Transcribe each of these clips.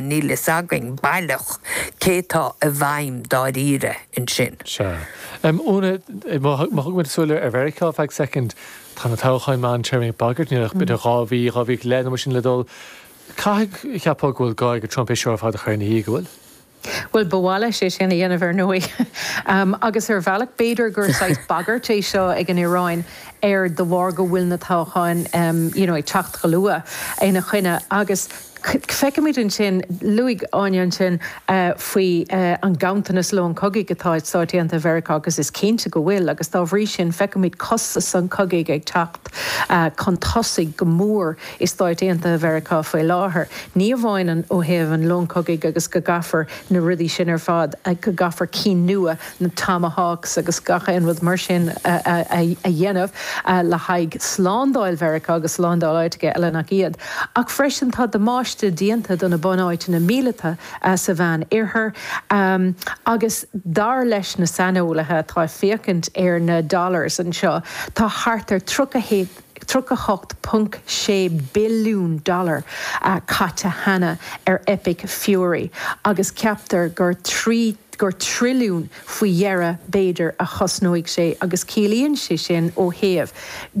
Níl fhios againn baileach cé tá i bhfeidhm dáiríre ansin. Sea. Úna, má thugann muid súil ar Mheiriceá ar feadh soicind, tá na toghcháin meántéarmaí ag bagairt, níl ach b'fhéidir 2 mhí, 2 mhí go leith nó mar sin le dul. Caithfidh, cheapfá go bhfuil gá ag Trump é seo ar fad a chur ina dhiaidh, go bhfuil? Bhuel, ba mhaith leis é sin a dhéanamh ar ndóigh. Agus ar bhealach, b'fhéidir gur saghas bagairt é seo ag an Iaráin air de bharr go bhfuil na toghcháin you know ag teacht go luath ina choinne. Agus feicimid ansin, luaigh Áine ansin faoi an ganntanas lón cogaidh atá ag Stáit Aontaithe Mheiriceá agus is cinnte go bhfuil agus dá bhrí sin feicimid costas an chogaidh ag teacht chun tosaigh go mór i Stáit Aontaithe Mheiriceá faoi láthair. Ní amháin an ó thaobh an lón cogaidh agus go gcaithfear na rudaí sin ar fad, go gcaithfear cinn nua, na Tomahawks agus gach aon rud mar sin a dhéanamh le haghaidh slándáil Mheiriceá agus slándáil áiteacha eile nach iad. Ach freisin tá damáiste déanta do na bunáiteanna míleata sa Mheán Oirthear agus dar leis na saineolaithe atá ag féachaint ar na dollars anseo tá thart ar 38.6 billiún dollar caite cheana ar Epic Fury agus ceaptar gur 3 gur trilliún faoi dheireadh b'fhéidir a chosnóidh sé agus ciallaíonn sé sin ó thaobh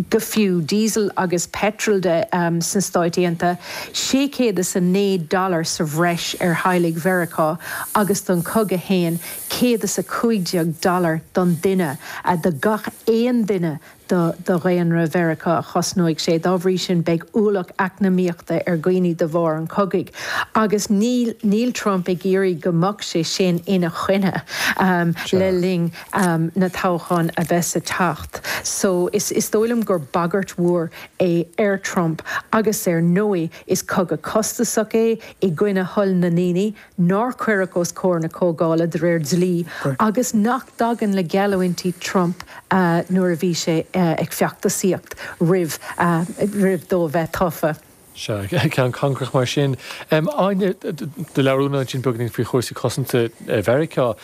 go fiú diesel agus petrol de sna Stáit Aontaithe, 609 dollar sa bhreis ar theaghlaigh Mheiriceá agus don chogadh fhéin 115 dollar don duine, do gach aon duine do dhaonra Mheiriceá a chosnóidh sé. Dá bhrí sin, beidh ualach eacnamaíochta ar dhaoine de bharr an chogaidh. Agus níl níl Trump ag iarraidh go mbeadh sé sin ina choinne le linn na toghcháin a bheas ag teacht. So is is dóigh liom gur bagairt mhór é ar Trump agus ar ndóigh is cogadh costasach é i gcoinne thoil na ndaoine. nár cuireadh os comhair na Comhdhála de réir dlí agus nach dtagann le geallúintí Trump nuair a bhí sé ag feachtasaíocht roimh roimh dó a bheith tofa. Sea, ceann cangrach mar sin. Áine, do labhair Úna ansin beagáinín faoi chúrsaí cosanta Mheiriceá.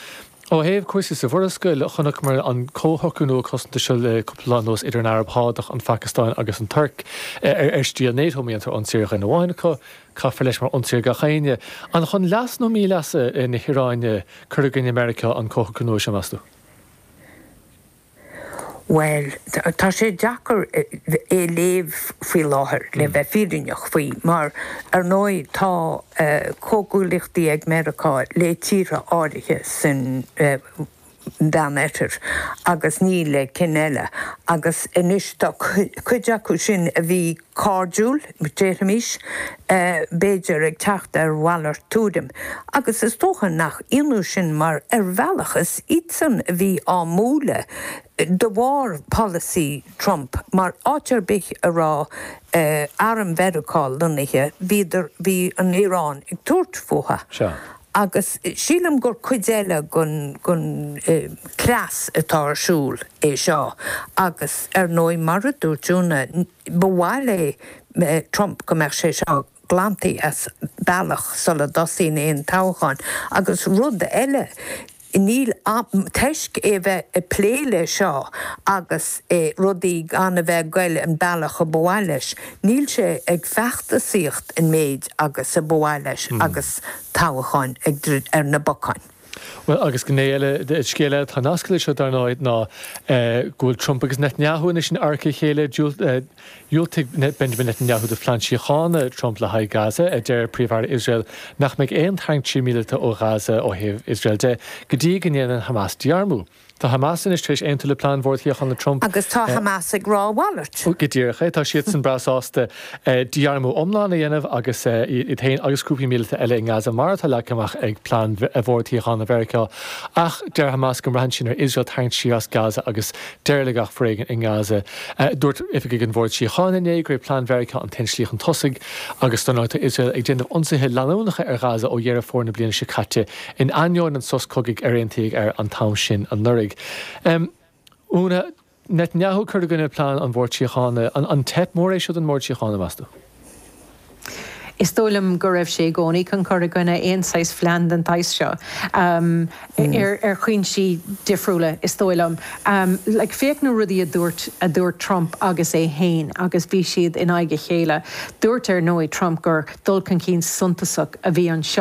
Ó thaobh cúrsaí sa Mhurascaill, chonaiceamar an comhshocrú nua cosanta seo le cúpla lá anuas idir an Araib Shádach, an Phacastáin agus an Tuirc, ar stíl NATO, má dhéantar ionsaí ar dhuine amháin acu, caithfear leis mar ionsaí ar gach éinne. An chun leas nó míleasa na hIaráine cur i gcoinne Meiriceá an comhshocrú nua seo, meas tú? Bhuel, tá sé deacair é a léamh faoi láthair, le bheith fírinneach faoi, mar, ar ndóigh, tá comhghuaillíochtaí ag Meiriceá le tíortha áirithe san Mheánoirthear agus ní le cinn eile. Agus anois tá cuid acu sin a bhí cairdiúil, déarfaimis, b'fhéidir, ag teacht ar mhalairt tuairim. Agus is dócha nach ionadh sin mar ar bhealach is iadsan a bhí á mbualadh de bharr polasaí Trump mar áit ar bith a raibh arm Mheiriceá lonnaithe bhíodar, bhí an Iaráin ag tabhairt fúthu. Sea. Agus sílim gur cuid eile den cleas atá ar siúl é seo agus ar ndóigh mar a dúirt Úna, Ba mhaith le Trump go mbeadh sé seo glanta as bealach sula dtosaíonn aon toghchán. Agus rud eile, níl, toisc é a bheith ag plé le seo agus rudaí gan a bheith ag goil an bealach a ba mhaith leis, níl sé ag feachtasaíocht an méid agus a ba mhaith leis agus toghcháin ag druid ar na bacáin. Bhuel, agus gné eile, scéal eile atá nasctha leis seo, dar ndóigh, ná go bhfuil Trump agus Netanyahu anois in adharca a chéile. Dhiúltaigh Benjamin Netanyahu do phlean síochána Trump le haghaidh Gaza, a deir Príomh-Aire Iosrael nach mbeidh aon tarraingt siar míleata ó Ghaza ó thaobh Iosrael de go dtí go ndéanann Hamas dí-armú. Tá Hamas anois tar éis aontú le plean Bhord Shíochána Trump. Agus tá Hamas ag rá a mhalairt. Go díreach é. Tá siadsan breá sásta dí-armú iomlán a dhéanamh agus iad féin agus grúpaí míleata eile i nGaza mar atá leagtha amach ag plean Bhord Shíochána Mheiriceá. Ach deir Hamas go mbraitheann sin ar Iosrael tarraingt siar as Gaza agus deireadh le gach foréigean i nGaza. Dúirt oifigigh an Bhoird Síochána inné gurb é plean Mheiriceá an t-aon slí chun tosaigh agus dar ndóigh tá Iosrael ag déanamh ionsaithe leanúnacha ar Ghaza ó Dheireadh Fómhair na bliana seo caite In ainneoin an sos cogaidh ar aontaíodh air an t-am sin anuraidh. Úna, Netanyahu ag cur i gcoinne plean an Bhoird Síochána, an teip mór é seo don mBord Síochána, meas tú? Is dóigh liom go raibh sé i gcónaí chun cur i gcoinne aon saghas phlean den tsaghas seo. Ar chúinsí difriúla, is dóigh liom. Like, féach na rudaí a dúirt, a dúirt Trump agus é fhéin agus bhí siad in aghaidh a chéile. Dúirt, ar ndóigh, Trump gur dul chun cinn suntasach a bhí anseo.